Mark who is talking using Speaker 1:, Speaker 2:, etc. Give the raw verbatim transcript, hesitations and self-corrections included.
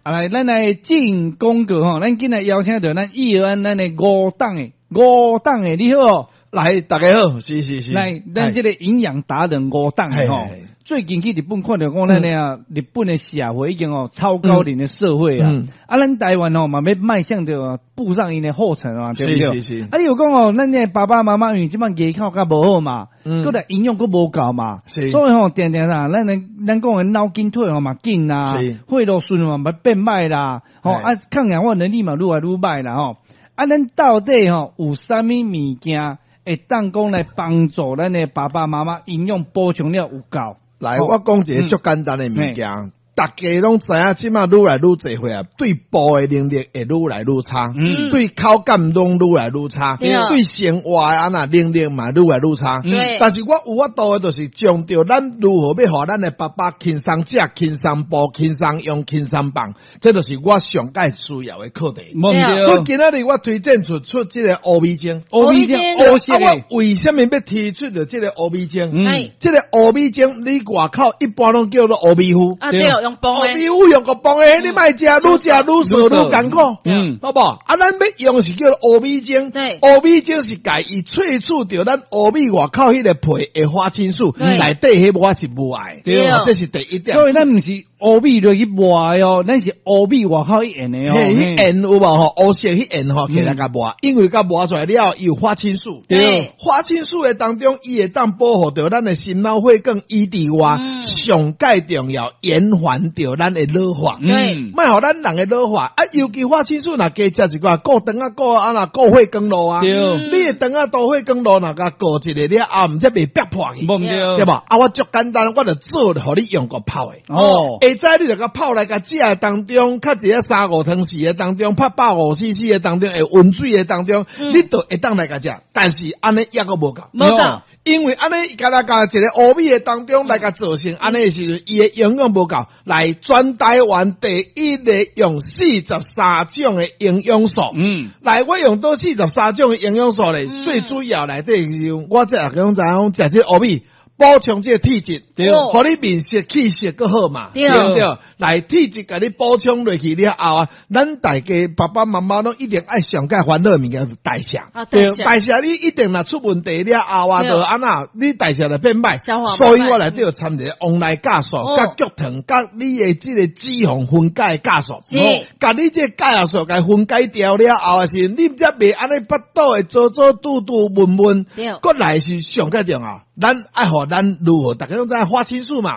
Speaker 1: 啊來，咱來進廣告吼，咱今日邀請著咱易安咱的吳董的，吳董的你好。
Speaker 2: 來，大家好，是是是。
Speaker 1: 來，咱這個營養達人吳董的吼，最近去日本看著講咱的啊，日本的社會已經哦超高齡的社會啊，啊，咱台灣吼嘛欲邁向著步上𪜶的後塵啊，對毋對？
Speaker 2: 是是是。
Speaker 1: 啊，你有講哦，咱的爸爸媽媽因為這擺牙口較無好嘛，閣來營養閣無夠嘛，所以吼，定定啦，咱的咱講的腦筋退化嘛緊啦，血路順嘛嘛變歹啦，吼啊，抗氧化能力嘛愈來愈歹啦吼，啊，咱到底吼有啥物物件會當講來幫助咱的爸爸媽媽營養補充了有夠？
Speaker 2: 來，我講一个足簡單的物件，大家攏知影，這馬愈來愈濟歲啊，對步的能力會愈來愈差，
Speaker 1: 嗯
Speaker 2: 對口感攏愈來愈差，
Speaker 3: 對
Speaker 2: 對生活的按怎能力嘛愈來愈差。
Speaker 3: 對
Speaker 2: 但是我有法度的，就是將著咱如何欲予咱的爸爸輕鬆食、輕鬆步、輕鬆用、輕鬆放，這就是我上蓋需要的課題。
Speaker 1: 無毋
Speaker 2: 所以
Speaker 1: 對，
Speaker 2: 今仔日我推薦出出這個烏米精。
Speaker 1: 烏米精烏色
Speaker 2: 啊，
Speaker 1: 的，
Speaker 2: 我為什麼欲提出著這個烏米精？
Speaker 1: 嗯
Speaker 3: 哎
Speaker 2: 這個烏米精，你外口一般攏叫做烏米糊。
Speaker 3: 啊對，用磅
Speaker 2: 烏
Speaker 3: 的，
Speaker 2: 米糊用個磅的，你莫食，愈食愈瘦愈艱苦。
Speaker 1: 嗯
Speaker 2: 好無？啊，咱欲用是叫做烏米精。
Speaker 3: 對
Speaker 2: 烏米精是共伊萃取著咱烏米外口彼個皮的花青素，
Speaker 3: 對
Speaker 2: 內底彼我是無愛。
Speaker 1: 對
Speaker 2: 這是第一點。
Speaker 1: 所以咱毋是烏米落去磨的哦，咱是烏米外口彼緣的哦。
Speaker 2: 嘿，彼緣有無吼？烏色彼緣吼，起來共磨，因為共磨出來了後，伊有花青素。
Speaker 1: 對
Speaker 2: 花青素的當中，伊會當保護著咱的心腦血管以之外，
Speaker 3: 嗯
Speaker 2: 上蓋重要延緩著咱的老化。
Speaker 3: 對
Speaker 1: 嗯
Speaker 2: 莫予咱人的老化啊，尤其花青素若加食一寡顧腸仔顧啊若顧血管路啊，
Speaker 1: 對
Speaker 2: 你的腸仔導血管路若共顧一下了後，毋才袂煏破去，
Speaker 1: 無毋對，
Speaker 2: 對無？啊，我足簡單，我就做予你用個泡的。
Speaker 1: 哦，
Speaker 2: 下早你就共泡來共食的當中，較一個三五湯匙的當中，泡百五 C C 的當中，會溫水的當中，
Speaker 3: 嗯
Speaker 2: 你就會當來共食。但是按呢猶閣無夠。
Speaker 3: 無夠，
Speaker 2: 因為按呢，共來共一个烏米的當中來共做成，按呢的時陣，伊的營養無夠。來全台灣第一个用四十三種的營養素。
Speaker 1: 嗯，
Speaker 2: 來，我用佗四十三種的營養素咧，
Speaker 3: 嗯
Speaker 2: 最主要內底是我這也講知影講，食這個烏米補充這個鐵質，
Speaker 1: 對
Speaker 3: 哦
Speaker 2: 予你面色氣色閣好嘛，
Speaker 3: 對
Speaker 2: 對毋對？來鐵質共你補充落去了後啊，咱大家爸爸媽媽攏一定愛上蓋煩惱的物件就是代謝。
Speaker 3: 啊對，
Speaker 2: 代謝你一定若出問題了後啊，
Speaker 3: 對
Speaker 2: 就按怎你代謝就變歹
Speaker 3: 消化，
Speaker 2: 所以我內底有摻一个黃奶酵素、
Speaker 3: 哦
Speaker 2: 佮菊糖、佮你的這個脂肪分解的酵素，
Speaker 3: 是
Speaker 2: 共你這個酵素共分解掉了後的時陣，你才袂按呢腹肚會糟糟肚肚悶悶
Speaker 3: 對，
Speaker 2: 閣來是上蓋重要，咱愛予咱如何，大家攏知影花青素嘛。